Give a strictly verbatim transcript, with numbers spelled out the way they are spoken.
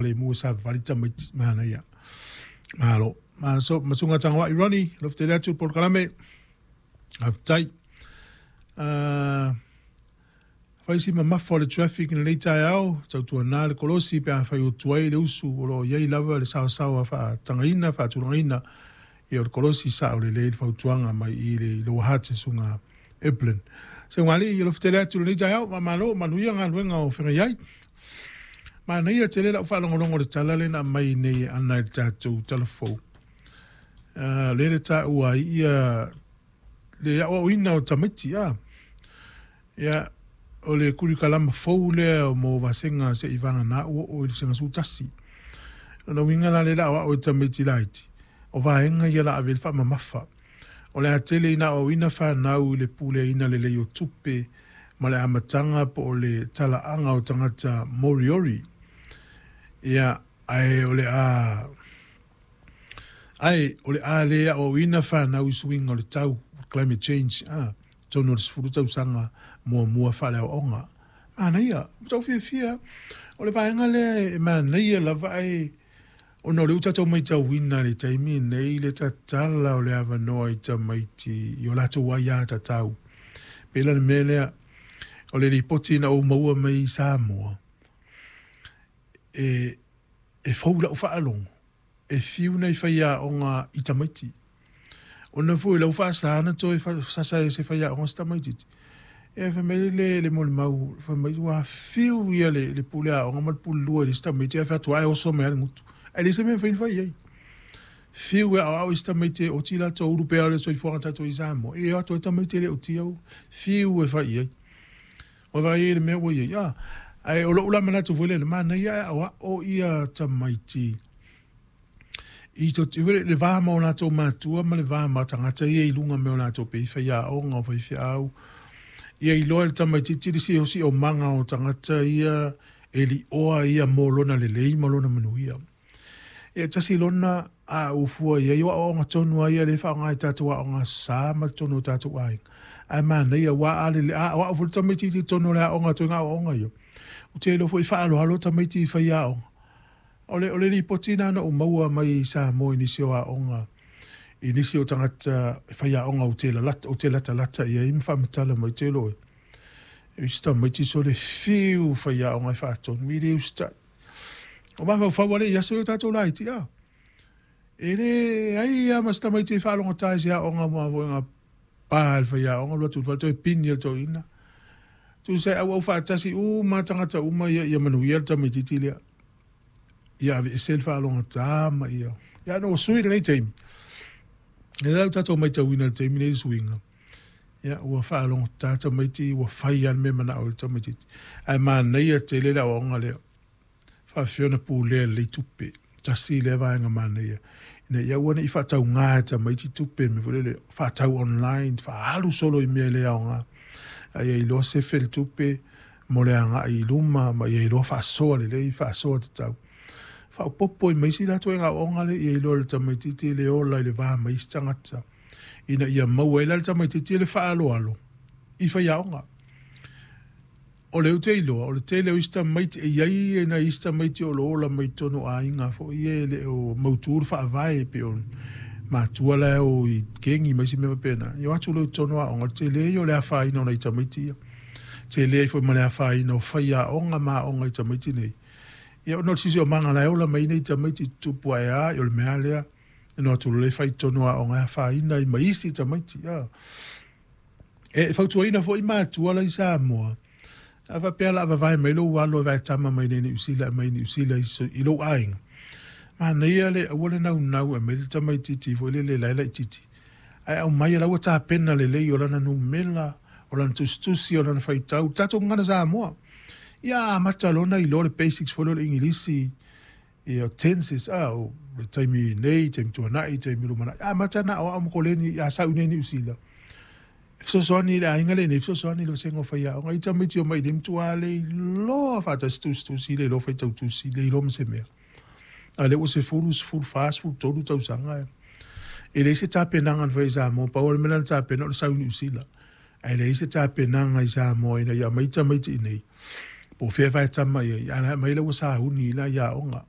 saogalemu e savavali tamaiti. Manaia. Malo. Ma so masunga tangoa'i Ronnie, alofa tele atu i le polokalame. Faafetai. Uh, fai si mamafa o le traffic i lenei taeao, tautuana le kolosi pe afai ua tuai le usu o lo o i ai lava le saosaoa faatagaina, faatulagaina ia o le kolosi sao lelei le fautuaga mai i le Lower Hutt susuga Evelyn. Seugalii, alofa tele atu i lenei taeao, faamalo, manuia galuega o feagai ai. Manaia tele lau faalogologo i le tala lea na aumai nei e Ana i le tatou talafou. Uh, lea le taua ai ia le aoaoina o tamaiti. Ah. Ia, o le kurikalama fou lea mo vasega se'i vagana ua oo i le vasega sefulutasi. Lona uiga la lea o le a aoao e tamaiti laiti, o vaega ia o le a ave i ai le faamamafa. O le a tele ina aoaoina fanau i le puleaina lelei o tupe ma le amataga po o le talaaga o tagata Moriori. Ia, ae o le a ae o le a le aoaoina fanau i suiga o le tau, climate change, ah, totonu o le sefulu tausaga muamua faaleaoaoga. Manaia, ua tau fiafia. O le vaega lea e manaia lava ae ona o lea ua tatou matauina i le taimi lenei le tatala o le avanoa i tamaiti i o latou aiatatau. Pei la le mea lea, o le lipoti na ou maua mai i Samoa, e, e fou i lau faalogo, e fiu nai faiaoga i tamaiti. Ona foi o lau faasa na toe sasa e se faiaoga se tamaitiiti. E fai mai le, le molimau, fai mai ua fiu ia le, le pule aoga ma le pule lua i le isi tamaiti, ae fai atu, ae oso mai lava le gutu. Ae leai se mea e mafai ona fai i ai. Fiu e aoao isi tamaiti e oti latou ulu pea o le soifuaga tatou i Samoa, e o atu ai tamaiti e le otia ua fiu e fai i ai. Ua vaai ai i le mea ua i ai. Ah, ae o lou la manatu foi lea, manaia ae aoao ia tamaiti i to, le va ma o latou matua ma le va ma tagata ia i luga me o latou pe i faiaoga o faifeau. Ia iloa e le tamaitiiti le siosiomaga o tagata ia e lioa ia mo lona lelei ma lona manuia. E tasi lona a ufua i ai o aoaoga tonu ai ia le faaaoga i tatou aoga sa ma totonu o tatou aiga. Ae manaia ua a lele a aoao foi le tamaitiiti i totonu o le aoga ituaiga aoaoga ia. Ou te iloa foi e faaaloalo tamaiti i faiaoga. O le, o le lipoti lena na ou maua mai i Samoa i nisi o aoga, i nisi o tagata faiaoga ou te lalata, ou te latalata i ai ma faamatala mai te iloa e. Isi tamaiti sole fiu faiaoga e faatonu, i le usitai. O mafaufau ale i aso i o tatou laiti, a. E leai lava ma se tamaiti e faalogotā i se aoga ma foi pa le faiaoga alu atu i le fale toe pini e le toeaina. Tusa e auau faatasi uma tagata uma ia ia manuia le tamaitiiti lea. Ia aveese le faalogotā ma ia. Ia ona ua sui lenei taimi. Lea la ua tatou matauina i le taimi lenei le suiga. Ia ua faalogotā tamaiti ua fai lava le mea e manao ai le tamaitiiti. Ae manaia tele le aoaoga lea. Faafefea ona pulea lelei tupe. Tasi lea vaega manaia. Ina ia aua ne i faatauga e tamaiti tupe mea foi lele faatau online, faaalu solo i mea e le aoga. A ia iloa sefe le tupe mo le agai i luma ma ia iloa faasoa lelei, faasoa tatau. Faaopoopo ai ma isi latou aoaoga lea ia iloa e le tamaitiiti le ola i le va ma isi tagata. Ina ia maua ai la le tamaitiiti le faaaloalo i faiaoga. O lea ou te iloa, o le tele o isi tamaiti, e i ai nai isi tamaiti o lo o ola mai totonu o aiga foi ia e le o mautu le faavae pei o matua la e o i kegi ma isi mea faapena. Ia o atu loa i totonu o aoga, o le tele ia o le afaina o nai tamaiti ia. Tele ai foi ma le afaina o faiaoga ma aoga i tamaiti nei. Ia ona o le siosiomaga la e ola mai nei tamaiti i tutupu ae a, o le mea lea. Ona o atu loa lea fai i totonu o aoga e afaina ai ma isi tamaiti. E fautuaina foi matua la i Samoa, a faapea o le a vavae mai lou alo e vaetama mai nei Niu Sila mai Niu Sila i lou aiga. Manaia le aua le naunau e aumai le tamaitiiti foi lele la e laitiiti. Ae aumai o la ua tapena lelei o lana numera, o lana tusitusi, o lana faitau, tatou gagana Samoa. Ia amata loa ona iloa le basics foi lea o le Igilisi, ia tenses, ah, o le taimi nei, taimi tuanai, taimi lumanai. Amata ona aoao ma koleni a sau i nei Niu Sila. E fesoasoani i le aiga lenei, e fesoasoani i le vasega o faiaoga. I tamaiti omai i nei matua le iloa faatasi tusitusi, le iloa faitau tusi, le iloa ma se mea. A lea ua sefulu, sefulu fa, sefulu tolu tausaga. E leai se tapenaga na fai i Samoa, pau o le mea na tapena o le sau i Niu Sila. Ae leai se tapenaga i Samoa ina ia aumai tamaiti i nei. Po o fea vaetama i ai, a la aumai la ua sauni i la i aoga.